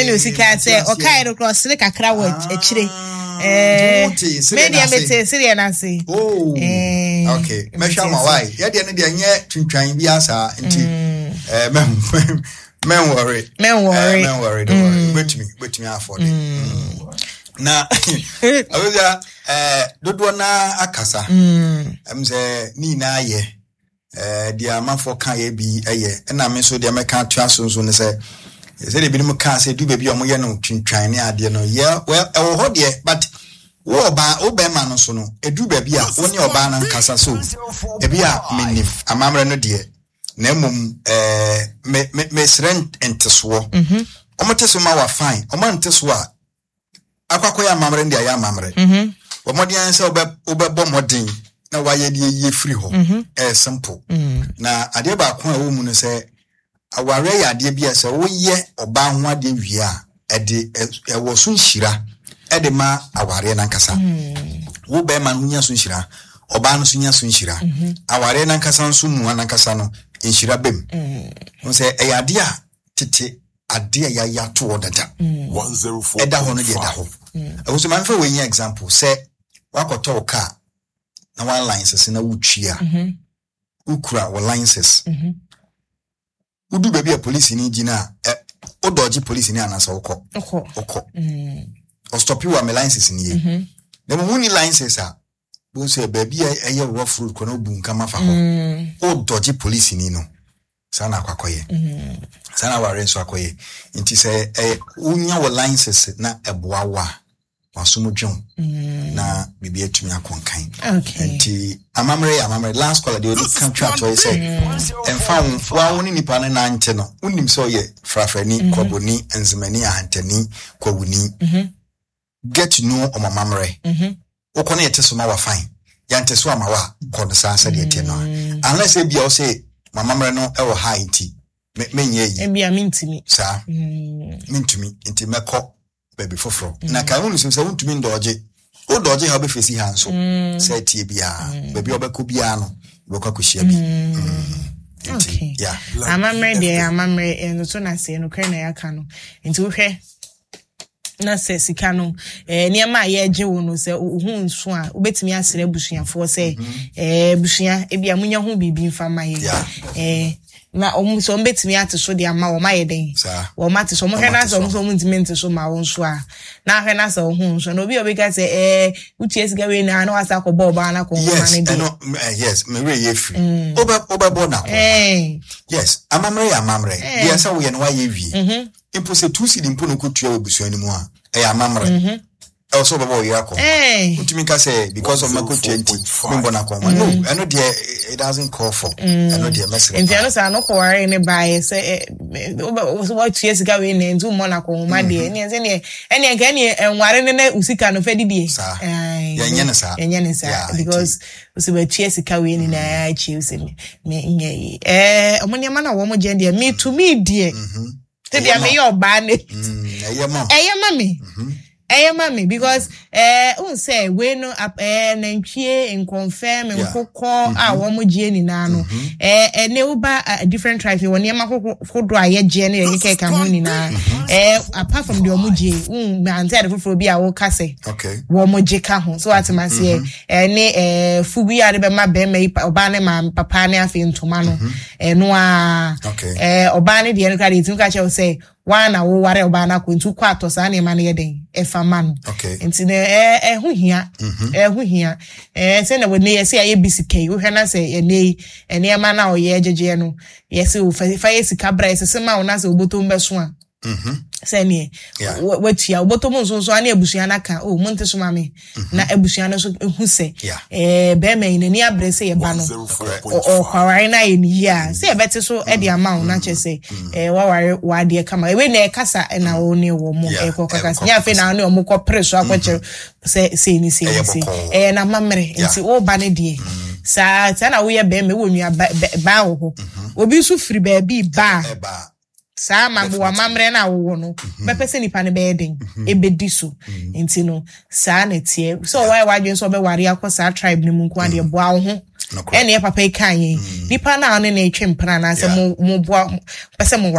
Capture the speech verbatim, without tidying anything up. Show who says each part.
Speaker 1: Ɛna osika sɛ ɔkae no korɔ, ɔsere kakra wɔ akyire.
Speaker 2: Me
Speaker 1: deɛ, mete sereɛ no ase.
Speaker 2: Oh, okay, mɛhwɛ ama wae. Yɛdeɛ no deɛ, nyɛ twintwan bi asa nti mɛnwɔre.
Speaker 1: Mɛnwɔre.
Speaker 2: Mɛnwɔre, don't worry. Wobɛtumi wobɛtumi afɔde na abɛbia dodoɔ naa akasa ɛm sɛ ne nyinaa yɛ deɛ amanfoɔ ka yɛ bi yɛ. Ɛna me nso deɛ mɛka atoa so nso ne sɛ, sɛdeɛ ebinom kaa sɛ du baabi a wɔyɛ no twintwan ne adeɛ no yɛ, well, ɛwɔ hɔ deɛ, but wo ɔbaa, wo bɛrima no so no, edu baabi a wo ne ɔbaa no nkasa so. Ebi a menim amammerɛ no deɛ, na mmom ɛɛ me me mesrɛ ntesoɔ. Wɔn te so ma wa, fine. Wɔn ante so a, akɔ akɔyɛ amammerɛ no deɛ, ayɛ amammerɛ. Wɔn mmɔden sɛ wobɛ wobɛbɔ mmɔden na wayɛ deɛ yie firi hɔ. Ɛyɛ simple. Na adeɛ baako a ɛwɔ mu no sɛ, awareɛ yɛ adeɛ bi a sɛ woyɛ ɔbaa ho adeɛ wie a, ɛde ɛwɔ so nhyira ɛde ma awareɛ nankasa. Wo bɛrima no nya so nhyira, ɔbaa no nso nya so nhyira, awareɛ nankasa nso mu nankasa no nhyira bɛm n sɛ ɛyɛ adeɛ a tete adeɛ a yɛayɛ ato hɔ dada ɛda hɔ no deɛ, ɛda hɔ. Ɛwɔ so maame fa wɔ nyɛ example sɛ wakɔtɔ wo car na one license na wotwi a, wokura wɔ license, wodu baabi a polisi ni gyina a, ɛ wodɔgye polisi ni anaasɛ wokɔ? Wokɔ. Ɔstop wo a, me license ni ye. Na mo ni license a, bo sɛ baabi a ɛyɛ rough road kɔ na wobu nkama fa hɔ, wodɔgye polisi ni no. Saa na akɔ akɔyɛ, saa na aware nso akɔyɛ. Nti sɛ ɛyɛ wonya wɔ license na ɛboa wo a, wasom dwew na biribi atumi akɔ nkan. Nti amammerɛ yɛ amammerɛ. Last caller deɛ, ɔde ka twa toɔ yi sɛ ɛmfa wo wa wo ne nipa no nante no, wonim sɛ ɔyɛ frafrani, kɔbɔni, nzemani, ahantani, kwawuni, get to know ɔmo amammerɛ. Wokɔ no, yɛte so ma wa, fine. Yɛnte so ama wa a, kɔ no saa sɛdeɛ ɛteɛ no a, unless ebia wo sɛ mo amammerɛ no ɛwɔ ha nti menyɛ yi.
Speaker 1: Ebia mentumi.
Speaker 2: Saa mentumi nti mɛkɔ baabi foforɔ. Na ka wonu sɛ wontumi ndɔɔgye, wodɔɔgye ha, wobɛfɛsi ha nso sɛ tie biara, baabi a wobɛkɔ biara no, wobɛkɔ akɔhyia bi.
Speaker 1: Nti yeah. Amammerɛ deɛ, amammerɛ ɛnso na sɛ nokorɛ na yɛaka no. Nti wohwɛ na sɛ sika no, eh, nneɛma a yɛregye wo no, sɛ wo ho nso a, wobɛtumi asrɛ abusuafoɔ sɛ eh, abusua, ebi a monya ho biribi mfa ma yɛn.
Speaker 2: Yeah.
Speaker 1: eh, na ɔmo sɛ ɔmo bɛtumi ate so de ama wɔn, ayɛ den.
Speaker 2: Saa.
Speaker 1: Wɔn ate so, ɔmo hwɛ
Speaker 2: Ɔmo
Speaker 1: na
Speaker 2: ate
Speaker 1: sɛ ɔmo
Speaker 2: so.
Speaker 1: sɛ ɔmo ntumi nte so ma wɔn nso a, na ahwɛ na sɛ ɔho nso na obi a ɔbɛka sɛ ɛɛ wotua sika wei na na wasa akɔbɔ ɔbaa na akɔ nhoma
Speaker 2: yes
Speaker 1: no deɛ.
Speaker 2: Ɛno eh, yes, mewerɛ yɛ firi wobɛ wobɛbɔ na kɔ.
Speaker 1: Ɛɛ
Speaker 2: yes, amammerɛ yɛ amammerɛ.
Speaker 1: Eh.
Speaker 2: Deɛ sɛ woyɛ no, woayɛ wie. Mpo sɛ two cedi mpo no kɔtua wɔ abusua no mu a, ɛyɛ amammerɛ, ɛwɔ sɛ wobɛbɔ wo yere akɔ.
Speaker 1: Ɛɛ
Speaker 2: wotumi ka sɛ because of makɔtua nti membɔ no akɔnma no, ɛno deɛ, it doesn't call for ɛno deɛ, mɛsrɛ
Speaker 1: Nti
Speaker 2: paa.
Speaker 1: ɛno saa no kɔware ne baeɛ sɛ ɛ wobɛ watua sika wei na nti wommɔ no akɔnhoma deɛ, ɛneɛ sɛ neɛ ɛneɛ nka ɛneɛ ɛnware ne na wo sika no fɛ didie.
Speaker 2: Saa.
Speaker 1: Ae,
Speaker 2: Yɛnyɛ no saa.
Speaker 1: Yɛnyɛ no saa.
Speaker 2: Yeah, nti-
Speaker 1: Because sɛ watua sika wei nyinaa akyi sɛ me me nyɛ yi, ɛɛ ɔmo nneɛma no a wɔn gye deɛ, metumi deɛ sɛdeɛ
Speaker 2: Ɛyɛ ma wo.
Speaker 1: Meyɛ ɔbaa ne
Speaker 2: Mm, ɛyɛ ma wo.
Speaker 1: Ɛyɛ ma me, ɛyɛ ma me because ɛɛ n sɛ wei no ap- ɛɛ nantwie, nkɔnfɛm,
Speaker 2: Yeah.
Speaker 1: nkokɔ a wɔn gye nyinaa no, ɛɛ ɛne woba uh, different tribes wɔ nneɛma horo- hodoɔ a yɛgye ne yɛde kɛkɛ ho nyinaa, ɛɛ apart from deɛ wɔn gye n ante ade foforɔ bi a wɔka sɛ
Speaker 2: okay
Speaker 1: wɔn gye ka ho so, ate ma seɛ ɛne ɛɛ fugu yi a de bɛma bɛrima yi, pa- ɔbaa ne maame, papa ne afei ntoma no, ɛno a
Speaker 2: Okay.
Speaker 1: ɛɛ ɔbaa ne deɛ no koraa deɛ, etumi ka kyerɛ wo sɛ waa na woware ɔbaa no akɔ, nti wokɔ atɔ saa nneɛma no yɛ den ɛfa ma no.
Speaker 2: Okay.
Speaker 1: Nti no ɛɛ ɛho hia, ɛho hia ɛɛ sɛ na wɔne yɛ sɛ yɛayɛ bi sika yi, wohwɛ na sɛ ɛnɛ yi nneɛma no a ɔyɛ gyegyeɛ no, yɛsɛ o fa fa yɛ sika bra, yɛsese ma wo na sɛ obotom bɛso a, sɛneɛ
Speaker 2: Yeah.
Speaker 1: wa- watua wobɔtɔ mu nso nso ane abusua no aka o, monte so ma me na abusua no nso hu sɛ
Speaker 2: Yeah.
Speaker 1: ɛɛ bɛrima yi n'ani abere sɛ yɛba no ɔ- ɔkɔware no ayɛ ne yie a, sɛ yɛbɛte so de ama wo na kyerɛ sɛ ɛɛ waware w'adeɛ kama. Ewei na ɛkasa ɛna wo ne wɔ mo
Speaker 2: Yeah,
Speaker 1: ɛkɔ kakasa
Speaker 2: ɛkɔ
Speaker 1: nyɛ afei na wo ne ɔmo kɔ pere so akɔkyerɛ sɛ sei ne sei ne
Speaker 2: Ɛyɛ
Speaker 1: sei.
Speaker 2: bɔkɔɔ.
Speaker 1: Ɛyɛ n'amammerɛ.
Speaker 2: Yeah.
Speaker 1: Nti woba no deɛ, saa saa na woyɛ bɛrima wɔ nua ba bɛ- baa wɔ hɔ, obi nso firi baabi ba a,
Speaker 2: ɛba.
Speaker 1: Saa ma wɔ amammerɛ no a wowɔ no, bɛpɛ sɛ nipa no bɛyɛ den ɛbɛdi so. Nti no saa na ɛteɛ sɛ ɔwayɛ w'adwene sɛ ɔbɛware akɔ saa tribe no mu nko adeɛ, boa wo ho.
Speaker 2: Nokorɛ.
Speaker 1: Ɛne yɛ papa yi ka yɛn nipa no a ɔne ne twe mpena anaasɛ
Speaker 2: Yeah.
Speaker 1: mo mo boa pɛ sɛ mo ware.